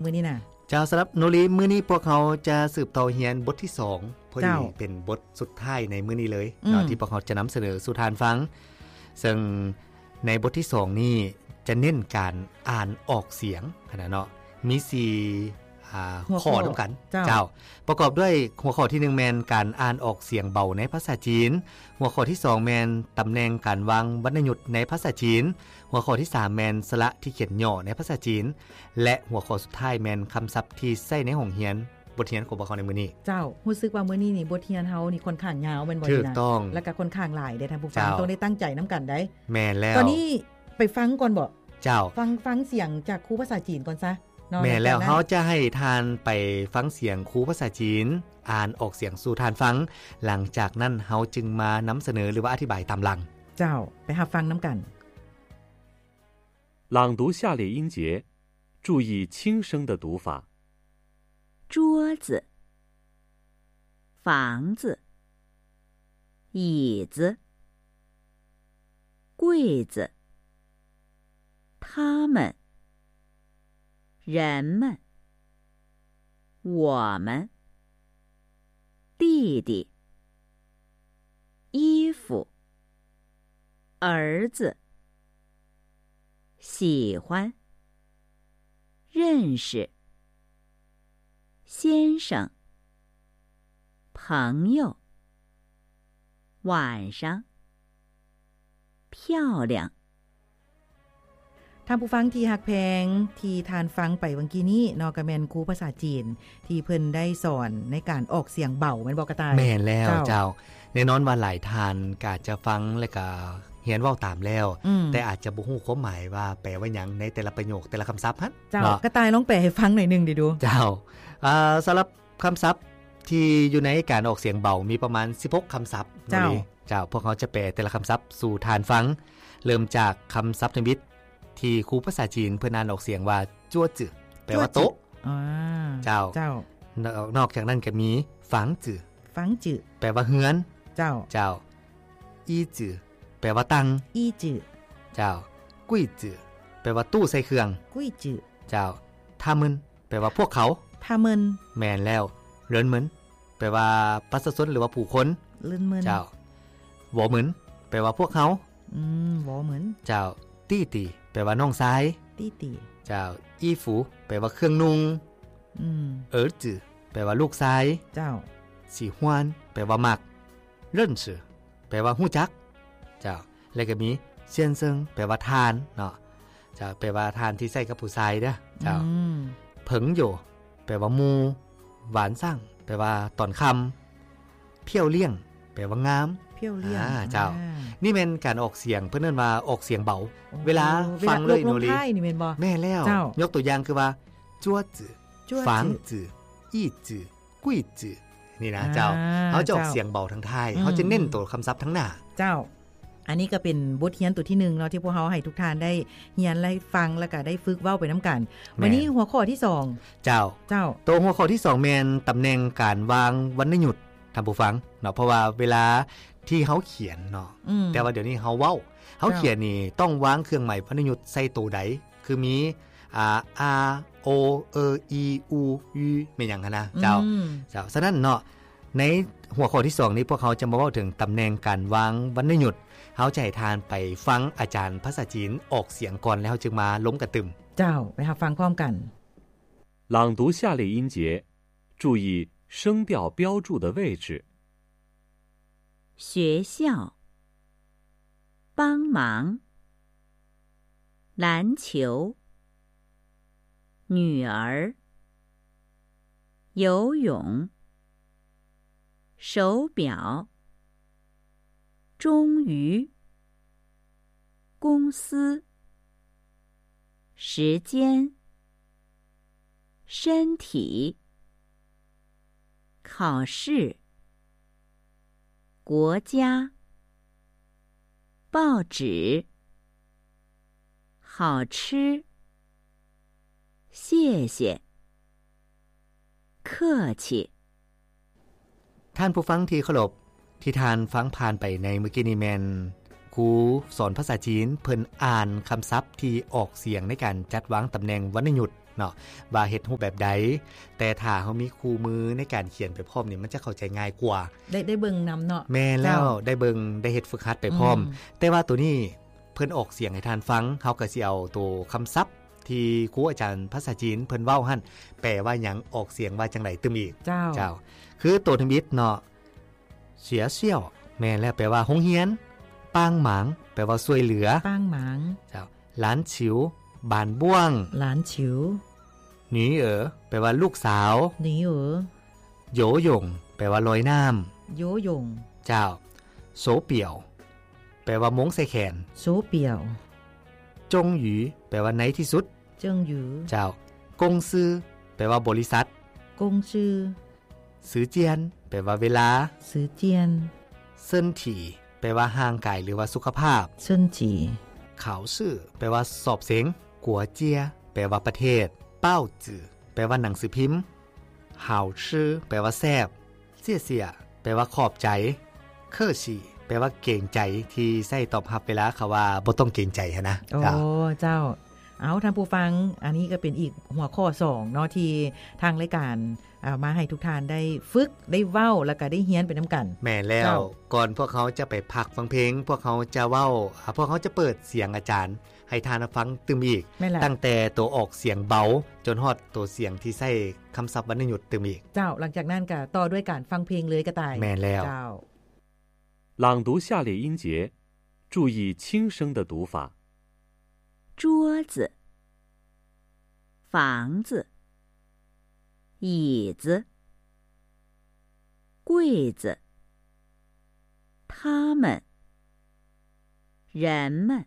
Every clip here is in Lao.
ມື້ນີ້ນະ? ເຈົ້າ, ສຳລັບໂນລີ ມື້ນີ້ພວກເຮົາຈະສືບຕໍ່ຮຽນບົດທີສອງ ພໍດີເປັນບົດສຸດທ້າຍໃນມື້ນີ້ເລີຍເນາະ ອືມ ທີ່ພວກເຮົາຈະນຳສະເໜີສູ່ທ່ານຟັງ. ເຊິ່ງໃນບົດທີສອງນີ້ຈະເນັ້ນການອ່ານອອກສຽງຫັ້ນນະເນາະ, ມີສີ່ ອ່າ ຫົວຂໍ້ ຂໍ້ນຳກັນ. ເຈົ້າ. ເຈົ້າ. ປະກອບດ້ວຍຫົວຂໍ້ທີໜຶ່ງແມ່ນການອ່ານອອກສຽງເບົາໃນພາສາຈີນ, ຫົວຂໍ້ທີສອງແມ່ນຕຳແໜ່ງການວາງວັນນະຍຸດໃນພາສາຈີນ, ຫົວຂໍ້ທີສາມແມ່ນສະຫຼະທີ່ຂຽນຫຍໍ້ໃນພາສາຈີນ ແລະ ຫົວຂໍ້ສຸດທ້າຍແມ່ນຄຳສັບທີ່ໃຊ້ໃນຫ້ອງຮຽນ, ບົດຮຽນຂອງພວກເຮົາໃນມື້ນີ້. ເຈົ້າ, ຮູ້ສຶກວ່າມື້ນີ້ນີ້ບົດຮຽນເຮົານີ້ຄ່ອນຂ້າງຍາວແມ່ນບໍ່? ຖືກຕ້ອງ. ແລ້ວກໍຄ່ອນຂ້າງຫຼາຍເດ້ທ່ານຜູ້ຟັງ, ເຈົ້າ ຕ້ອງໄດ້ຕັ້ງໃຈນຳກັນໄດ໋. ແມ່ນແລ້ວ. ຕອນນີ້ໄປຟັງກ່ອນບໍ? ເຈົ້າ. ຟັງ, ຟັງສຽງຈາກຄູພາສາຈີນກ່ອນຊະເນາະ. ແມ່ນແລ້ວ. ຫຼັງຈາກນັ້ນ ເຮົາຈະໃຫ້ທ່ານໄປຟັງສຽງຄູພາສາຈີນອ່ານອອກສຽງສູ່ທ່ານຟັງ, ຫຼັງຈາກນັ້ນເຮົາຈຶ່ງມານຳສະເໜີ ຫຼືວ່າອະທິບາຍຕາມຫຼັງ. ເຈົ້າ, ໄປຮັບຟັງນຳກັນ. 朗读下列音节，注意轻声的读法。桌子、房子、椅子、柜子、他们、人们、我们、弟弟、衣服、儿子、喜欢、认识、先生、朋友、晚上、漂亮。 ທ່ານຜູ້ຟັງທີ່ຮັກແພງ, ທີ່ທ່ານຟັງໄປຫວ່າງກີ້ນີ້ເນາະ ກໍແມ່ນຄູພາສາຈີນທີ່ເພິ່ນໄດ້ສອນໃນການອອກສຽງເບົາ ແມ່ນບໍ່ກະຕ່າຍ? ແມ່ນແລ້ວ. ເຈົ້າ. ເຈົ້າ. ແນ່ນອນວ່າຫຼາຍທ່ານກໍອາດຈະຟັງ ແລະ ກໍຮຽນເວົ້າຕາມແລ້ວ, ອືມ ແຕ່ອາດຈະບໍ່ຮູ້ຄວາມໝາຍວ່າແປວ່າຫຍັງໃນແຕ່ລະປະໂຫຍກ ແຕ່ລະຄຳສັບຫັ້ນ. ເຈົ້າ. ເນາະ. ກະຕ່າຍລອງແປໃຫ້ຟັງໜ້ອຍໜຶ່ງເດ້ດູ. ເຈົ້າ. ເອີ ສຳລັບ ຄຳສັບທີ່ຢູ່ໃນການອອກສຽງເບົາມີປະມານສິບຫົກຄຳສັບ. ເຈົ້າ. ໂນລີ. ເຈົ້າ, ພວກເຮົາຈະແປແຕ່ລະຄຳສັບສູ່ທ່ານຟັງ, ເລີ່ມຈາກຄຳສັບທຳອິດທີ່ຄູພາສາຈີນເພິ່ນອ່ານອອກສຽງວ່າ 桌子 ແປວ່າໂຕະ. 桌子. ອ່າ. ເຈົ້າ. ເຈົ້າ. ນອກ, ນອກຈາກນັ້ນກໍມີ 房子 房子 ແປວ່າເຮືອນ. ເຈົ້າ. ເຈົ້າ. 椅子 ແປວ່າຕັ່ງ. 椅子 ເຈົ້າ. 柜子 ແປວ່າຕູ້ໃສ່ເຄື່ອງ. 柜子 ເຈົ້າ. 他们 ແປວ່າພວກເຂົາ. 他们 ແມ່ນແລ້ວ. 人们 ແປວ່າປະຊາຊົນ ຫຼືວ່າຜູ້ຄົນ. 人们 ເຈົ້າ. 我们 ແປວ່າພວກເຮົາ. ອືມ 我们 ເຈົ້າ. 弟弟 ແປວ່ານ້ອງຊາຍ. 弟弟 ເຈົ້າ. 衣服 ແປວ່າເຄື່ອງນຸ່ງ. ອືມ 儿子 ແປວ່າລູກຊາຍ. ເຈົ້າ. 喜欢 ແປວ່າມັກ. 认识 ແປວ່າຮູ້ຈັກ. ເຈົ້າ. ແລ້ວກໍມີ 先生 ແປວ່າທ່ານເນາະ. ເຈົ້າ. ແປວ່າທ່ານທີ່ໃຊ້ກັບຜູ້ຊາຍເດີ້. ເຈົ້າ. ອືມ 朋友 ແປວ່າໝູ່. 晚上 ແປວ່າຕອນຄ່ຳ. 漂亮 ແປວ່າງາມ. 漂亮 ອ່າ ເຈົ້າ. ອ່າ ນີ້ແມ່ນການອອກສຽງ, ເພິ່ນເອີ້ນວ່າອອກສຽງເບົາ. ໂອ້ ເວລາຟັງເລີຍ ເວລາລົງທ້າຍນີ້ແມ່ນບໍ່? ໂນລີ. ແມ່ນແລ້ວ. ເຈົ້າ. ຍົກຕົວຢ່າງຄືວ່າ 桌子 桌子 房子 椅子 柜子 ນີ້ນະ ອ່າ ເຈົ້າ. ເຮົາຈະອອກ ເຈົ້າ ສຽງເບົາທາງທ້າຍ, ອືມ ເຮົາຈະເນັ້ນໂຕຄຳສັບທາງໜ້າ. ເຈົ້າ. ອັນນີ້ກໍເປັນບົດຮຽນໂຕທີໜຶ່ງເນາະ ທີ່ພວກເຮົາໃຫ້ທຸກທ່ານໄດ້ຮຽນ ແລະ ຟັງ ແລ້ວກໍໄດ້ຝຶກເວົ້າໄປນຳກັນ. ແມ່ນ. ວັນນີ້ຫົວຂໍ້ທີສອງ. ເຈົ້າ. ເຈົ້າ. ໂຕຫົວຂໍ້ທີສອງແມ່ນຕຳແໜ່ງການວາງວັນນະຍຸດ ທ່ານຜູ້ຟັງເນາະ, ເພາະວ່າເວລາທີ່ເຮົາຂຽນເນາະ, ອືມ ແຕ່ວ່າດຽວນີ້ເຮົາເວົ້າ, ເຮົາ ເຈົ້າ ຂຽນນີ້ຕ້ອງວາງເຄື່ອງໝາຍວັນນະຍຸດໃສ່ໂຕໃດ, ຄືມີ ອ່າ ອາ ໂອ ເອີ ອີ ອູ ຢູ ແມ່ນຫຍັງຫັ້ນນະ ເຈົ້າ. ອືມ ເຈົ້າ. ສະນັ້ນເນາະ ໃນຫົວຂໍ້ທີສອງນີ້ ພວກເຮົາຈະມາເວົ້າເຖິງຕຳແໜ່ງການວາງວັນນະຍຸດ. ເຮົາຈະໃຫ້ທ່ານໄປຟັງອາຈານພາສາຈີນອອກສຽງກ່ອນ ແລ້ວເຮົາຈຶ່ງມາລົມກັນຕື່ມ. ເຈົ້າ, ໄປຮັບຟັງພ້ອມກັນ. 朗读下列音节，注意声调标注的位置。学校，帮忙，篮球，女儿，游泳，手表，终于，公司，时间， 身体，考试，国家，报纸，好吃，谢谢，客气。 ທ່ານຜູ້ຟັງທີ່ເຄົາລົບ, ທີ່ທ່ານຟັງຜ່ານໄປໃນມື້ກີ້ນີ້ແມ່ນຄູສອນພາສາຈີນ ເພິ່ນອ່ານຄຳສັບທີ່ອອກສຽງໃນການຈັດວາງຕຳແໜ່ງວັນນະຍຸດ ເນາະ ວ່າເຮັດຮູບແບບໃດ, ແຕ່ຖ້າເຮົາມີຄູ່ມືໃນການຂຽນໄປພ້ອມນີ້ ມັນຈະເຂົ້າໃຈງ່າຍກວ່າ. ໄດ້ ໄດ້ເບິ່ງນຳເນາະ. ແມ່ນແລ້ວ ເຈົ້າ ໄດ້ເບິ່ງ ໄດ້ເຮັດຝຶກຫັດໄປພ້ອມ. ອືມ ແຕ່ວ່າໂຕນີ້ເພິ່ນອອກສຽງໃຫ້ທ່ານຟັງ, ເຮົາກໍຊິເອົາໂຕຄຳສັບທີ່ຄູອາຈານພາສາຈີນເພິ່ນເວົ້າຫັ້ນ ແປວ່າຫຍັງ, ອອກສຽງວ່າຈັ່ງໃດຕື່ມອີກ. ເຈົ້າ ເຈົ້າ ຄືໂຕທຳອິດເນາະ 学校 ແມ່ນແລ້ວ ແປວ່າໂຮງຮຽນ, 帮忙 ແປວ່າຊ່ວຍເຫຼືອ, 帮忙 ເຈົ້າ 篮球 ບານບ້ວງ, 篮球 女儿 ແປວ່າລູກສາວ, 女儿 游泳 ແປວ່າລອຍນ້ຳ, 游泳 ເຈົ້າ 手錶 ແປວ່າໂມງໃສ່ແຂນ, 手錶 终于 ແປວ່າໃນທີ່ສຸດ, 终于 ເຈົ້າ 公司 ແປວ່າບໍລິສັດ, 公司 时间 ແປວ່າເວລາ, 时间 身体 ແປວ່າຮ່າງກາຍ ຫຼືວ່າສຸຂະພາບ, 身体 考试 ແປວ່າສອບເສັງ, 国家 ແປວ່າປະເທດ, 报纸 ແປວ່າໜັງສືພິມ, 好吃 ແປວ່າແຊບ, 谢谢 ແປວ່າຂອບໃຈ, 客气 ແປວ່າເກງໃຈ ທີ່ໃຊ້ຕອບຮັບເວລາເຂົາວ່າບໍ່ຕ້ອງເກງໃຈຫັ້ນນະ. ໂອ້ ເຈົ້າ ເຈົ້າ ເອົາ ທ່ານຜູ້ຟັງ ອັນນີ້ກໍເປັນອີກຫົວຂໍ້ສອງເນາະ ທີ່ທາງລາຍການ ເອົາມາໃຫ້ທຸກທ່ານໄດ້ຝຶກ ໄດ້ເວົ້າ ແລ້ວກໍໄດ້ຮຽນໄປນຳກັນ. ແມ່ນແລ້ວ ເຈົ້າ ກ່ອນພວກເຮົາຈະໄປພັກຟັງເພງ ພວກເຮົາຈະເວົ້າ ອາ ພວກເຮົາຈະເປີດສຽງອາຈານໃຫ້ທ່ານຟັງຕື່ມອີກ. ແມ່ນແລ້ວ ຕັ້ງແຕ່ໂຕອອກສຽງເບົາ ຈົນຮອດໂຕສຽງທີ່ໃຊ້ຄຳສັບວັນນະຍຸດຕື່ມອີກ. ເຈົ້າ ຫຼັງຈາກນັ້ນກໍຕໍ່ດ້ວຍການຟັງເພງເລີຍກະຕ່າຍ. ແມ່ນແລ້ວ ເຈົ້າ. 朗读下列音节，注意轻声的读法。桌子、房子、椅子、柜子、他们、人们、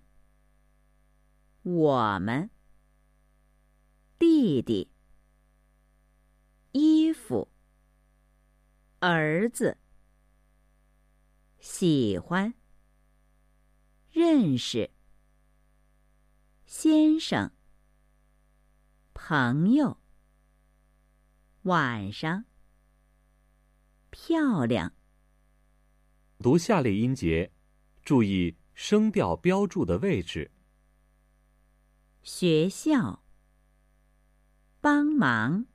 我们、弟弟、衣服、儿子、喜欢、认识、先生、朋友、晚上、漂亮。读下列音节，注意声调标注的位置。学校、帮忙、